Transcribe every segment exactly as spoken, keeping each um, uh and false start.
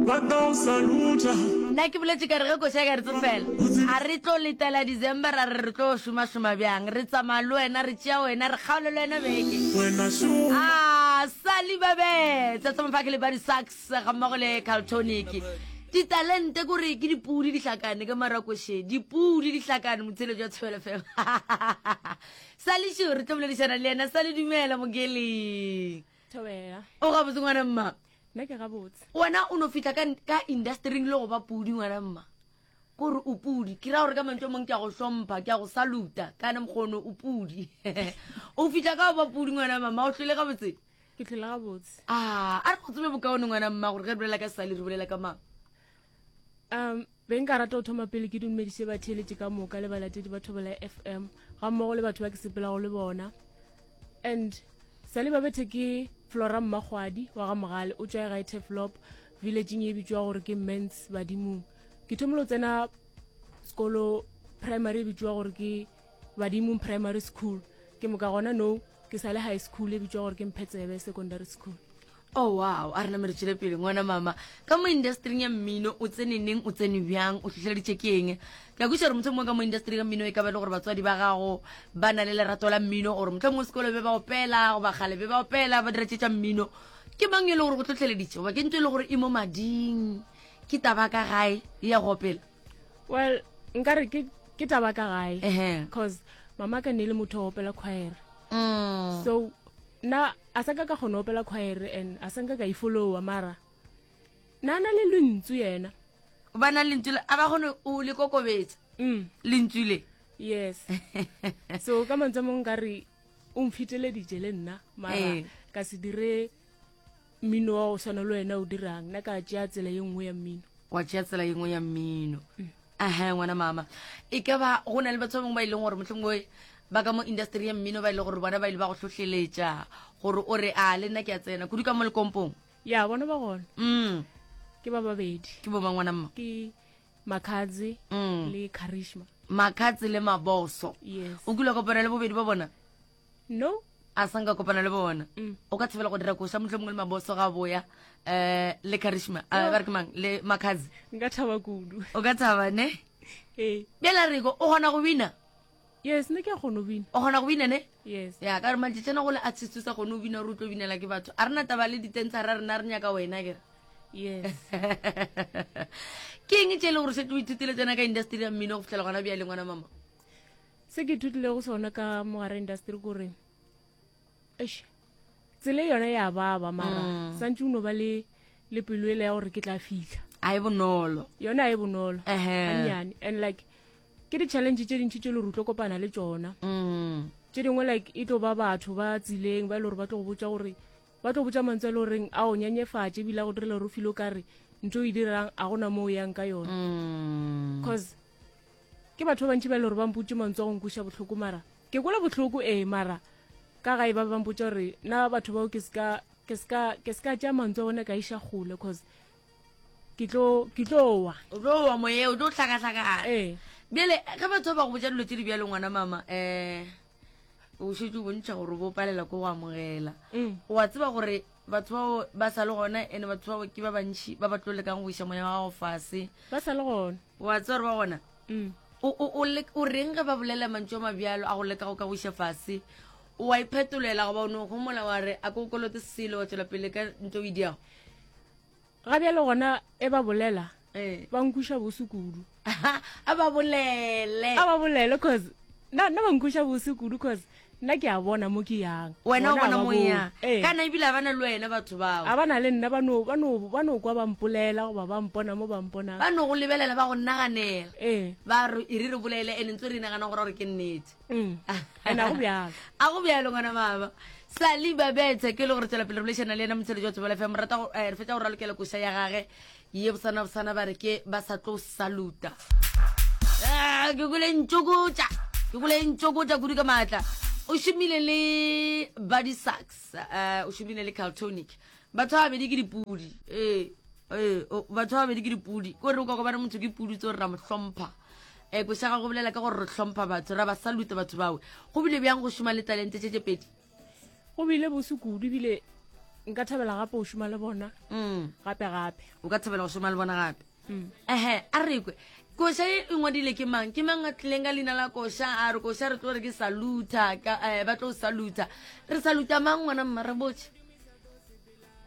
Nna ke boletše ka re ge koša e ka re tsofela, a re tlo letela December ra re re tlo šomašoma bjang, re tsamaya le wena, re tšea wena, re kgaole le wena beke. Ah, Sally Babetsa, tsa mafake le Buddy Sachs ga mmogo le Caltonic. Ditalente kore ke dipudi di hlakane ka marakoše, dipudi di hlakane motheletši wa Thobela F M. Sally šo re tlo boledišana le yena. Sally, dumela mokeleng. Thobela. O gabotse ngwana mma? Nna ke gabotse. Wena o no fihla ka, ka industryng le go ba pudi ngwana mma. Kore o pudi. Ke ra gore ka mantšu a mangwe ke a go hlompha, ke a go saluta. Kana mokgono o pudi. O fihla ka go ba pudi ngwana mma, o hlwele gabotse? Ke hlwele gabotse. Ah, a re go tsebe bokaone ngwana mma gore ge re bolela ka Sally re bolela ka mang? Um, be nka rata go thoma pele ke dumediše batheeletši ka moka le balatedi ba Thobela F M ga mmogo le batho ba ke sepelago le bona. And Sally Babethe ke Flora Mmakgwadi wa ga Mogale, o tšwa gae Turfloop villageng e bitšwa gore ke Mens Badimong. Ke thomile go tsena sekolo primary e bitšwa gore ke Badimong Primary School. Ke moka gona no ke sa le high school e bitšwa gore ke Mphetsebe Secondary School. Oh wow, a re namele tšwele pele ngwana mama. Ka mo industryng ya mmino o tsene neng, o tsene bjang, o hlohleleditše ke eng? Ke a kwešiša gore mohlomongwe ka mo industry ya mmino e ka ba e le gore batswadi ba gago ba na le lerato la mmino, gore mohlomongwe sekolo be ba opela goba kgale be ba opela ba dira tše tša mmino. Ke mang e le gore go hlohleleditše goba ke ntho e le gore e mo mading, ke taba ka gae ya go opela? Well, nkare ke, ke taba ka gae. Ehe. Cause mama ka ne le motho wa opela choir. Mm. So na a sa ka ka kgona opela choir and a sa nka ka e followa, mara na na le lentšu yena. Ba na lentšu le, a ba kgone o le kokobetsa. Mm. Lentšu le. Yes. So ka mantswe a mangwe nkare o mfeteleditše le nna, mara Eh. ka se dire mmino wa go swana le wena o dirang, nna ka tšea tsela ye nngwe ya mmino. Wa tšea tsela ye nngwe ya mmino. Mm. Aha, ngwana mama. E ka ba go na le batho ba bangwe ba e leng gore mohlomongwe ba ka mo industry ya mmino ba e leng gore bona ba ile ba go hlohleletša gore o re a le nna ke a tsena kudu ka mo lekompong. Ya, bona ba gona. Mm. Ke ba babedi. Ke bo mang ngwana mma? Ke Makhadzi Mm. le Charisma. Makhadzi le Maboso. Yes. O kile wa kopana le bobedi ba bona? No. A sa nka kopana le bona. Mm. O ka thabela go dira koša mohlomongwe le Maboso ga boya, eh, le Charisma. Eh, Yo. ba re ke mang? Le Makhadzi. Nka thaba kudu. O ka thaba, ne? Ee. Bjale a re ko, o kgona go bina? Yes, nna ke a kgona go bina. O kgona go bina, ne? Yes. Ya, ka gore matšatšana go le artist o sa kgone go bina gore o tlo binela ke batho. A re na taba le ditensara, rena re nyaka wena, ke re. Yes. Ke eng tše e leng gore šetše o ithutile tsena ka industry ya mmino go fihlela gona bjale, ngwana mama? Se ke ithutilego sona ka mogare industry kore, eish, tsela yona ya baba, mara Mm. santse o no ba le, le pelo ele ya gore ke tla fihla. A e bonolo. Yona a e bonolo. Ehe. Gannyane. And like, ke di-challenge tše dintši tše le gore o tlo kopana le tšona. Mm. Tše dingwe like e tlo ba batho ba tseleng ba e le gore ba tlo go botša gore, ba tlo botša mantswe a le goreng a o nyenyefatše ebile a go direla gore o feel o kare ntho o e dirang a gona mo o yang ka yona. Mm. Cause ke batho ba bantši ba e le gore ba mpotše mantswe a go nkweša bohloko, mara ke kwela bohloko ee, mara ka gae ba ba mpotša gore nna batho bao ke ska, ke ska, ke ska tšea mantswe a bona ka iša kgole, cause ke tlo, ke tlo wa. O tlo wa moye, o tlo hlakahlakana. Ee. Bjale ge batho ba go botša dilo tše di bjalo ngwana mama, eh, o šetše o bontšha gore o bo palela ko go amogela. Mm. O a tseba gore batho bao ba sa le gona, ene batho bao ke ba bantši ba ba tlo lekang go iša moya wa gago fase. Ba sa le gona. O a tseba gore ba gona? Mm. O, o, o le, o reng ge ba bolela mantšu a mabjalo a go leka go ka go iša fase? O a iphetolela goba o no homola wa re a ko kolote selo wa tšwela pele ka ntho o e diago? Ga bjale gona e ba bolela, Eh. ba nkweša bose kudu. A ba bolele. A ba bolele, cause nna, nna ba nkweša bose kudu, cause nna ke a bona mo ke yang. Wena o Bona bona ba mo bone. yang. Ee. Kana ebile a ba na le wena batho bao. A ba na le nna, ba no, ba no, ba no kwa ba mpolela goba ba mpona mo ba mponang. Ba no go lebelela, ba go naganela. Ee. Ba re, e re re bolele, ene ntse re nagana gore gore ke nnete. Mm. Ene a go bjalo. A go bjalo, ngwana mama. Sally Babethe ke le gore tswela pele re boledišana le yena motsheletši wa Thobela F M. Rata go, eh, re fetša go ralokela koša ya gage ye bosana bosana ba re ke ba sa tlo saluta. Ah, ke kwele ntšokotša, ke kwele ntšokotša kudu ka maatla. O šomile le Buddy Sachs, eh, o šomile le Caltonic. Batho ba babedi ke dipudi. Ee, ee, o, batho ba babedi ke dipudi. Ke gore o ka kopana motho ke pudi tse gore ra mo hlompha. Eh, koša ga go bolela ka gore re hlompha batho, ra ba saluta batho bao. Go bile bjang go šoma le talente tše tše pedi? Go bile bose kudu, ebile Nka thabela gape go šoma le bona Mm. gape gape. O ka thabela go šoma le bona gape. Mm. Ehe, a re kwe koša e e ngwadile ke mang? Ke mang a tlileng ka leina la koša a re koša re tlo re ke saluta ka, eh, ba tlo saluta? Re saluta mang ngwana mma, re botse?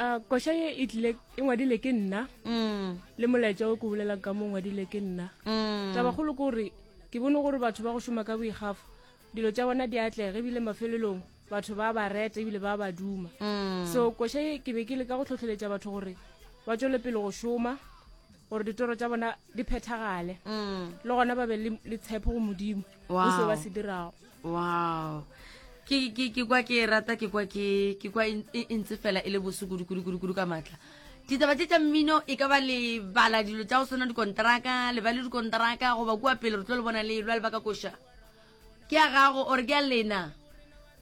Uh, koša ye e tlile e ngwadile ke nna Mm. le molaetša o ke bolelang ka mo ngwadile ke nna. Mm. Tabakgolo ke gore ke bone gore batho ba go šoma ka boikgafo dilo tša bona di atlega, ebile mafelelong batho ba ba reta ebile ba ba duma. Mm. So koša ye ke be ke leka go tlhotlheletša batho gore ba tšwele pele go šoma gore ditoro tša bona di phethagale, Mm. le gona ba be le le tshepo go Modimo go Wow. seo ba se dirago. Wow, ke ke ke kwa ke rata, ke kwa ke ke kwa e e ntse fela e le bose kudu kudu kudu kudu ka matla. Ditaba tše tša mmino e ka ba le bala dilo tša go swana dikontraka, le ba le dikontraka goba kua pele re tlo le bona le lwa le baka koša ke ya gago ore ke ya lena?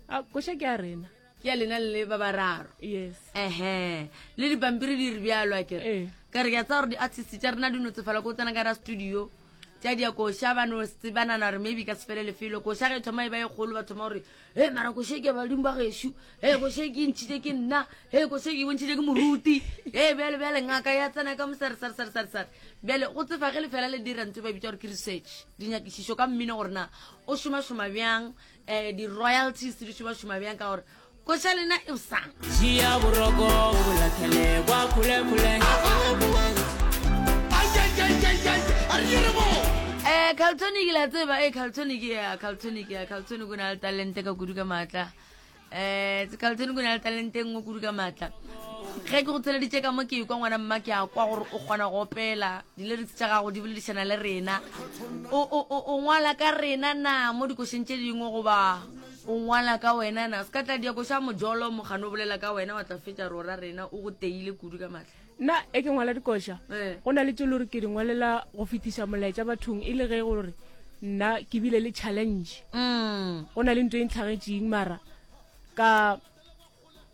A koša ke ya rena. Ke ya lena le ba bararo? Yes. Ehe, le dipampiri di re bjalo a kere? Ee. Ka re ke a tsaya gore di-artist tša rena di no tsefala ko tsena ka ra studio tša dia koša, ba no tsebanana gore maybe ka se fele lefelo. Koša ge e thoma e ba e kgolo, ba thoma gore e mara koša e ke badimo ba gešo, e koša e ke ntšhitše ke nna, e koša e ke bontšhitše ke moruti, e bjale bjale ngaka ya tsena ka mosare sare sare sare sare. Bjale go tsefa ge lefela le dira ntho e ba bitsa gore ke research, dinyakišišo ka mmino gore na o šomašoma bjang, um di-royalties di šomašoma bjang, ka gore koša lena e bosana. Tšea boroko o bo lahlele kwa kgole-kgole. Eh, Carltonic la tseba, eh Carltonic ya Carltonic ya Carltonic o na le talente ka kudu ka matla. Eh, Carltonic o na le talente e nngwe kudu ka matla. Ge ke go tsheleditše ka mo ke kwa ngwana mma, ke a kwa gore o kgona go opela, di-lyrics tša gago di boledišana le rena. O o o o ngwala ka rena na mo dikošeng tše dingwe goba o ngwala ka wena na? Se ka tla dia koša mojolo mogano o bolela ka wena wa tla fetša rora rena o go teile kudu ka matla. Nna e ke ngwala dikoša, Eh. go na le tše le gore ke di ngwalela go fetiša molaetša bathong, e le ge gore nna ke bile le challenge, Mm. go na le ntho e ntlhagetšeng mara ka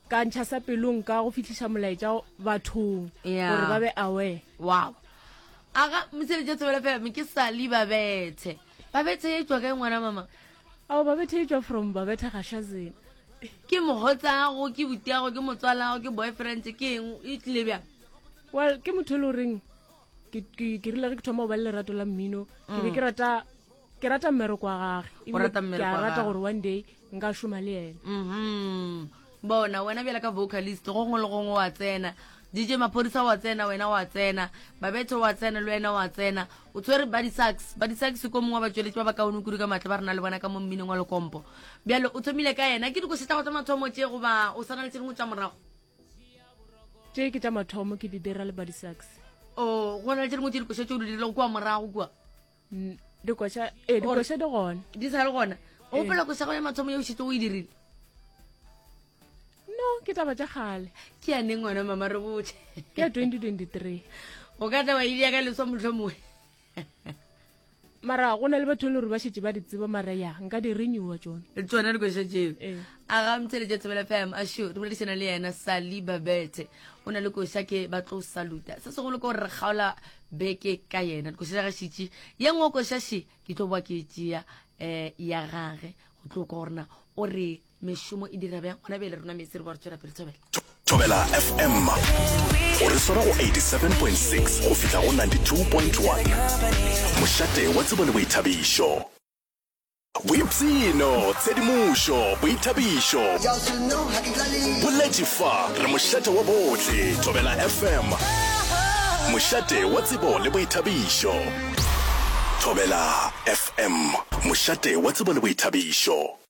ka ntšha sa pelong ka go fitlhiša molaetša bathong Yeah. gore ba be aware. Wow, aga mosebetsi wa Thobela F M ke Sali Babethe. Babethe e tswa kae ngwana mama? Ao, Babethe e tswa from Babethe Gashazena. Ke mogotsago, ke butiago, ke motswalago, ke boyfriend, ke eng, e tlile bjang? Well, ke motho e le goreng ke ke- ke rile ge ke thoma go ba le lerato la mmino, ke be ke rata ke rata mmereko wa gage, O ebile rata ke mmereko a wa rata gage. gore one day nka šoma le ena. Mhm bona wena bjala ka vocalist go gongwe le gongwe wa tsena, D J Maphodisa wa tsena, wena wa tsena, Babethe wa tsena, le wena wa tsena, o tshwere Body Sax. Body Sax ko mongwe wa batsweletši ba ba kaone kudu ka matla ba re na le bona ka mo mminong wa lekompo. Bjale o thomile ka yena, ke dikoše tša go tša mathomo tše goba o sana le tše dingwe tša morago? Tše ke tša mathomo ke di dira le Body Sax. O go na le tše dingwe tše dikoša tše o di dirilego kua morago kua? Mm, dikoša ee, dikoša di gona. Di sa le gona? O gopola koša go ya mathomo ye o šetse o e dirile? No, ke taba tša kgale. Ke ya neng wena mama, re botse? Ke ya twenty twenty-three. O ka tla wa idea ka leswa motlho mongwe. Mara go na le batho e le gore ba šetse ba di tseba, mara ya nka di renewa tsone. Tsona dikoša tseo? Ee. A ga motšheletše Thobela F M asho, re boledišana le yena Sali Babethe, o na le koša ke ba tlo saluta. Se segolo ke gore re kgaola beke ka yena, dikoša tša gašitše ye nngwe koša še ke tlo boa ke e tšea um ya gage go tlo kwa gorena o re mešomo e dira bjang gona bjale. Rona metsi re boa re tswela pele, Thobela. Thobela F M o re swara go eighty-seven point six go fihla go ninety-two point one, mošate wa tsebo le boithabišo, boipshino, tshedimošo, boithabišo, boletše fa re mošate wa bohle. Thobela F M, mošate wa tsebo le boithabišo. Thobela F M, mošate wa tsebo le boithabišo.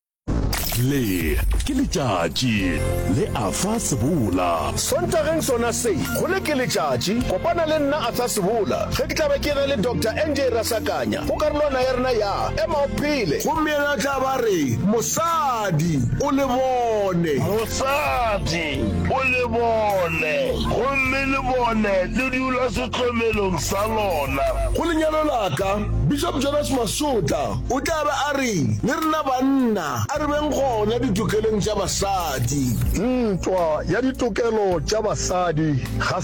Le ke letšatši le Afa Sebola. Sontageng sona se go le ke letšatši, kopana le nna Arthur Sebola ge ke tla be ke na le Doctor N J Rasakanya go karolwana ya rena ya Ema O Phele. Gomme yena tla ba re mosadi o le bone. Mosadi o le bone, gomme le bone le dula sehlomelong sa lona. Go lenyalo laka, Bishop Jonas Masotla o tla be a re le rena banna a re beng gona ditokelong tša basadi. Ntwa ya ditokelo tša basadi ga se